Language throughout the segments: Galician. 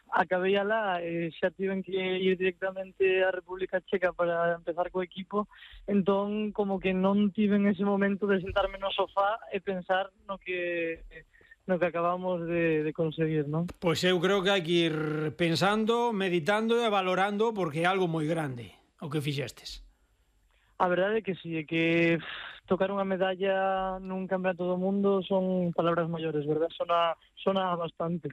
acabei alá e xa tiven que ir directamente á República Checa para empezar co equipo, entón como que non tiven ese momento de sentarme no sofá e pensar no que acabamos de conseguir, non? Pois eu creo que hai que ir pensando, meditando e valorando porque é algo moi grande o que fixestes. A verdade é que sí, é que tocar unha medalla nun campeonato do mundo son palabras maiores, verdad? Sona bastante.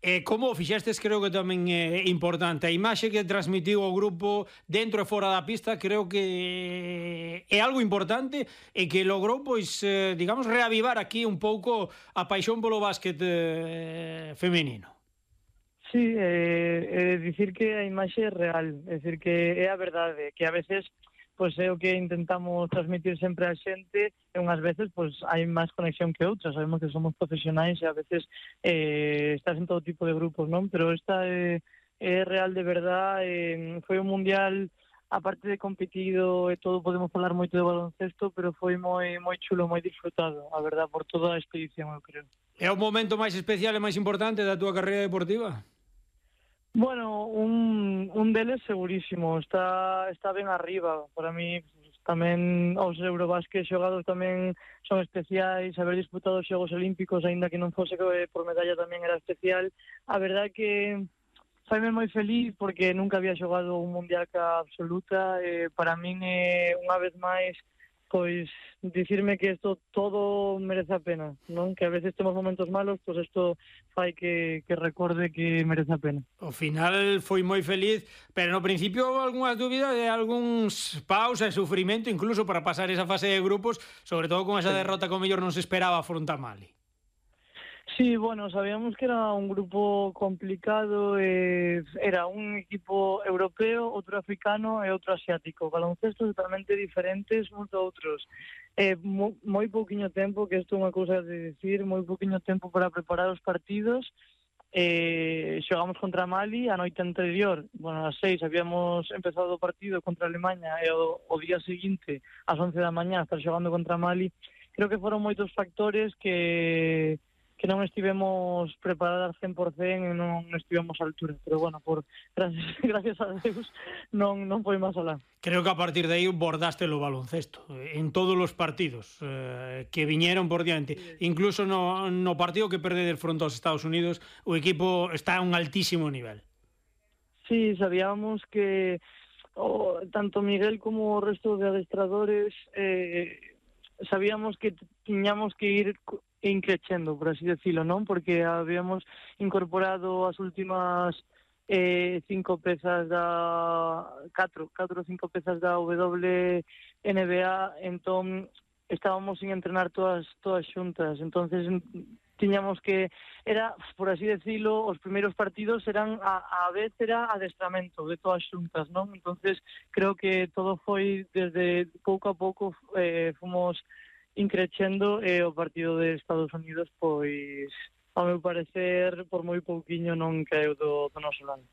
E como o fixestes creo que tamén é importante. A imaxe que transmitiu o grupo dentro e fora da pista creo que é algo importante e que logrou, pois, digamos, reavivar aquí un pouco a paixón polo básquet femenino. Sí, dicir que a imaxe é real, é dicir que é a verdade, que a veces pois é o que intentamos transmitir sempre á xente e unhas veces pois hai máis conexión que outras, sabemos que somos profesionais e a veces estás en todo tipo de grupos, non? Pero esta é real de verdad, foi un mundial aparte de competido e todo, podemos falar moito de baloncesto, pero foi moi chulo, moi disfrutado, a verdad, por toda a expedición, eu creo. É o momento máis especial e máis importante da túa carreira deportiva? Bueno, un deles segurísimo, está ben arriba. Para mí tamén os Eurobásquet xogados tamén son especiais, haber disputado os Xogos Olímpicos, aínda que non fose por medalla tamén era especial. A verdade que faime moi feliz porque nunca había xogado un mundial ca absoluta, para min unha vez máis pois dicirme que isto todo merece a pena, non? Que a veces temos momentos malos, pois isto fai que recorde que merece a pena. O final foi moi feliz, pero no principio algunhas dúbidas e algúns paus e sufrimento incluso para pasar esa fase de grupos, sobre todo con esa derrota que o mellor non se esperaba fronte a Mali. Sí, bueno, sabíamos que era un grupo complicado, era un equipo europeo, outro africano e outro asiático, baloncestos totalmente diferentes uns do outros. Moi pouquiño tempo, que isto é unha cousa de dicir, moi pouquiño tempo para preparar os partidos. Xogamos contra Mali a noite anterior, bueno, ás 6 habíamos empezado o partido contra Alemanha e o día seguinte, ás 11 da mañá, estar xogando contra Mali. Creo que foron moitos factores que non estivemos preparadas 100% e non estivemos á altura, pero bueno, gracias a Deus non foi máis alá. Creo que a partir de aí bordaste o baloncesto en todos os partidos que viñeron por diante, incluso no partido que perdedes fronte aos Estados Unidos o equipo está a un altísimo nivel. Sí, sabíamos que tanto Miguel como o resto de adestradores sabíamos que tiñamos que ir increchendo, por así decirlo, non? Porque habíamos incorporado as últimas 5 pezas da 4 ou 5 pezas da WNBA, entón estábamos sin entrenar todas xuntas, entonces tiñamos que, era, por así decirlo, os primeiros partidos eran a vez era adestramento de todas xuntas, non? Entonces creo que todo foi desde pouco a pouco fomos increchendo e o partido de Estados Unidos, pois, ao meu parecer, por moi pouquiño non caeu do noso lado.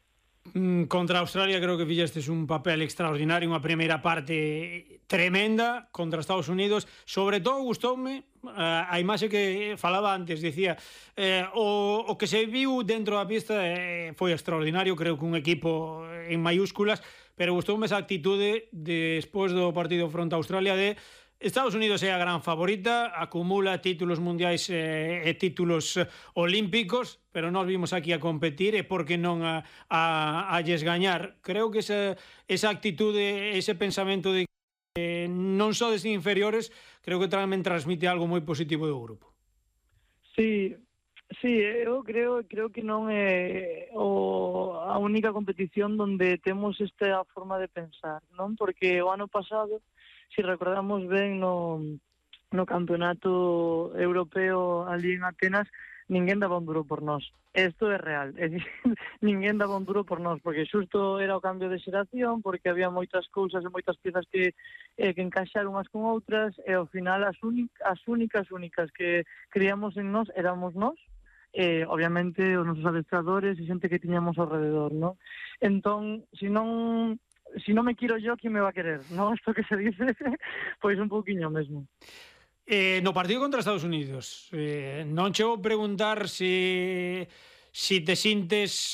Contra Australia creo que fixestes un papel extraordinario, unha primeira parte tremenda contra Estados Unidos. Sobre todo gustoume a imaxe que falaba antes, dicía o que se viu dentro da pista foi extraordinario, creo que un equipo en mayúsculas, pero gustoume esa actitude despois do partido fronte a Australia de Estados Unidos é a gran favorita, acumula títulos mundiais e títulos olímpicos, pero nós vimos aquí a competir e por que non a lles gañar. Creo que esa actitude, ese pensamento de que non sodes inferiores, creo que tamén transmite algo moi positivo do grupo. Sí, eu creo que non é a única competición onde temos esta forma de pensar, non? Porque o ano pasado, se recordamos ben no campeonato europeo ali en Atenas, ninguén daba un duro por nós. Isto é real, é dicir, ninguén daba un duro por nós, porque xusto era o cambio de xeración, porque había moitas cousas e moitas piezas que encaixar unhas con outras, e ao final as únicas que creíamos en nós éramos nós, obviamente os nosos adestradores e xente que tiñamos ao rededor, non? Entón, si non me quiero yo, ¿quién me va a querer? ¿No? Esto que se dice, pois un pouquiño mesmo. No partido contra Estados Unidos, non che vou preguntar se te sintes